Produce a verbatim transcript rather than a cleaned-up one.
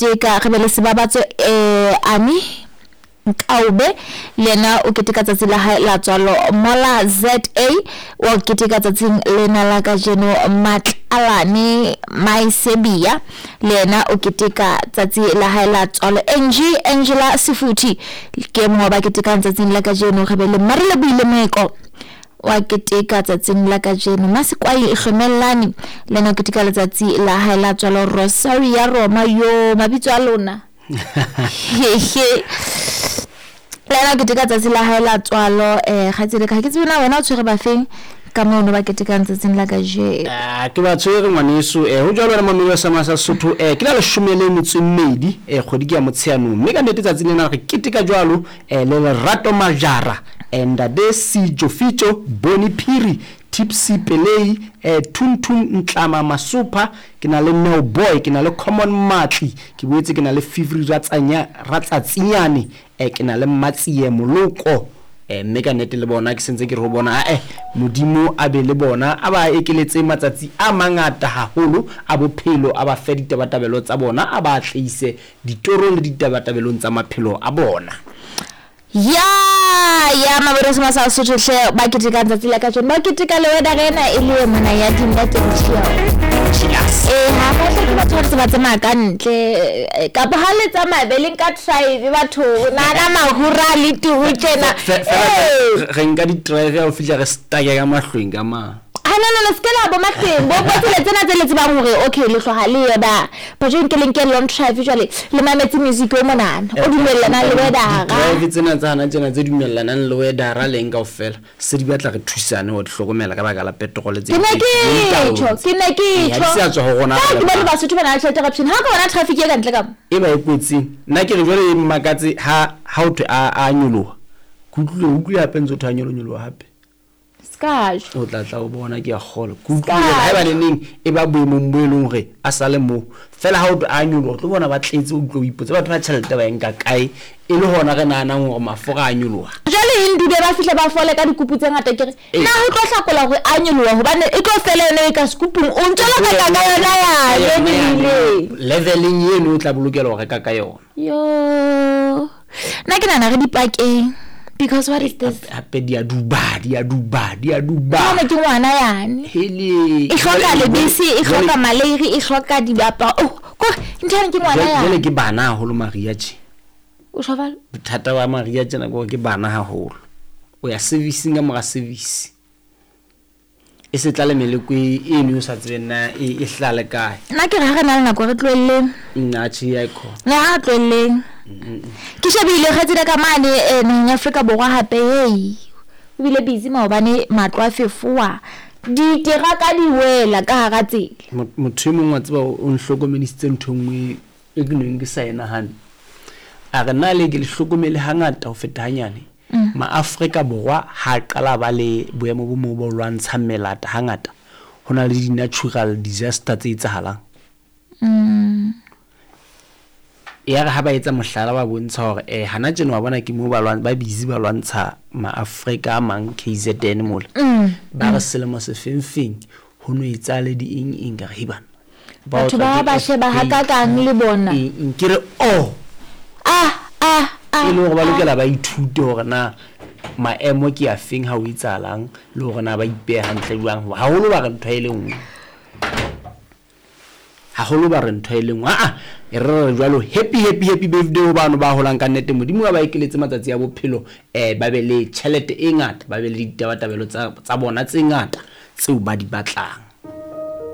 keteka re be le sebabatso eh Ami Nkaube le yena o keteka tsatsi la hae la tswalo. Mola Z A wa keteka tsatsing lena la kajeno. Matlalane Maesebia le yena o keteka tsatsi la hae la tswalo. Angie Angela Sefuthi ke mongwe wa ba ketekang tsatsing la kajeno. Re be le Marile Buile Moeko wa keteka tsatsing la kajeno. Masekwai Hlomelane le yena o keteka letsatsi la hae la tswalo. Rosaria Roma, yo mabitso a lona hehe, le yena o keteka tsatsi la hae la tswalo. um kgaitsedi ka, ha ke tsebe na wena o tshwere bafeng ka mono ba ketekang tsatsing la kajeno. Ah, ke ba tshwere ngwaneso. um ho jwalo wena mamelo sa sa Sotho, um ke la leshome le metso e mmedi, um kgwedi ke ya Motsheanong, mme ka nnete tsatsing lena re keteka jwalo um le Lerato Majara, um Ntate Sejo Fitjo, Boni Phiri, Tipsy Pelei, um Thuntun Ntlama Masopha, ke na le Neo Boy, ke na le Common Matli, ke boetse ke na le Fivri Ratsanya Ratsatsinyane, um ke na le Matsie Moloko. um mme ka nnete le bona ke sentse ke re ho bona, ae Modimo a be le bona, a ba ekeletse matsatsi a mangata haholo a bophelo, a ba fe ditabatabelo tsa bona, a ba atleise ditorong le ditabatabelong tsa maphelo a bona. Ya ya mabone se masa Sotho hle ba ketekang tsatsi la kajeno, ba keteka le wena re ena e le mona ya di-net and chill. Ee, ha ba hle ke batho ba ntse ba tsamaya ka ntle, eh, kapa ha le tsamaya be le nka drive batho nana mahura le turu tjena. Fe- fela Ee. re nka di-drive ya ho fihla re stake ka mahlweng ka mang. Ha no no no, se ke la bo mahleng bo bo tsela tsena tse le tsebang hore okay le tloha le ye ba ba jwale nke le nke long drive, jwale le mametse music o monana o dumellanang le weather. Drive tsena tsa hana tjena tse dumellanang le weathera leng kaofela se di batla re thusane ho di hlokomela ka baka la petrol tse Ke ne ke tjho, ke ne ke Ee, ha tjho di sa tswa ho rona ka re ke le bone bang. Basotho ba na le tjhelete corruption ha ka bona traffic e ka ntle ka mo. E ba e kotsing, nna ke re jwale e mmakatse ha ha ho thwe a a nyoloha, ke utlwile utlwile hape ntse ho thwe a nyolo nyoloha hape. Ska tjho. O tla tla o bona, ke a kgolwa ke utlwile hore haeba neneng e ba boemong bo e leng hore a sale moo fela, ha o thwe a nyoloha o tlo bona ba tletse, o utlwe o ipotse batho ba tjhelete ba e nka kae, e le hona re nahanang hore mafura a nyoloha. Jwale Hindube ba fihle ba fole ka dikupu tse ngata, ke re Ee. na ho tlo hlakola hore a nyoloha hobane e tlo fela yona e ka sekupung, o ntso lo reka ka yona yane mebileng leveleng eno o tla bolokela ho reka ka yona. Yo, nna ke nahana re dipakeng, because what is this? Hape di a duba, di a duba, di a duba. Jwale ke ngwana yane Hele. e hloka lebese, e Jwale- hloka maleiri, e hloka diaparo, oh kore ntho yane ke ngwana jwale jwale yane. Ke bana haholo Maria tje. O tjho jwalo. Bothata ba Maria tjena ke hore ke bana haholo, o ya servicing ka mora service, e se tla le meleko e eno o sa tsebeng na e e hlale kae. Nna ke re ha re na le nako re tlohelleng. Nna tjhe, ya ikhona. Ne ha re tlohelleng, ke shebile kgaitsedi ka mane eh, naheng ya Afrika Borwa hape, hei o bile busy maobane, matlo a fefowa, diteraka di wela ka hara tsela. Mot- motho e mong wa tseba o o nhlokomedisitse ntho e nngwe e ke neng ke sa e nahane, a re na le ke le hlokomele hangata ho feta hanyane, maafrika Borwa ha a qala ba le boemo bo moo bo lwantshang melata, hangata ho na le di-natural disaster tse etsahalang. Ya re ha ba etsa mohlala, ba bontsha hore um hana tjena wa bona ke moo ba lwan- ba busy ba lwantsha maafrika a mang K Z N mola, ba re selemo se feng feng ho no etsahale di eng eng, ka re hei bana ba Batho otlwa ba ke ba sheba earthquake, hakakang le bona. eng eng, ke re oh ah ah ah e le hore ba lokela ba ithute hore na maemo ke a feng ha o etsahalang, le hore na ba ipeha hantle jwang. Haholo ba re ntho e le nngwe, haholo ba re ntho e le nngwe, aa e re re jwalo, happy happy happy birthday ho bano ba holang, ka nnete Modimo a ba ekeletse matsatsi a bophelo, um ba be le tjhelete e ngata, ba be le ditabatabelo tsa tsa bona tse ngata tseo ba di batlang.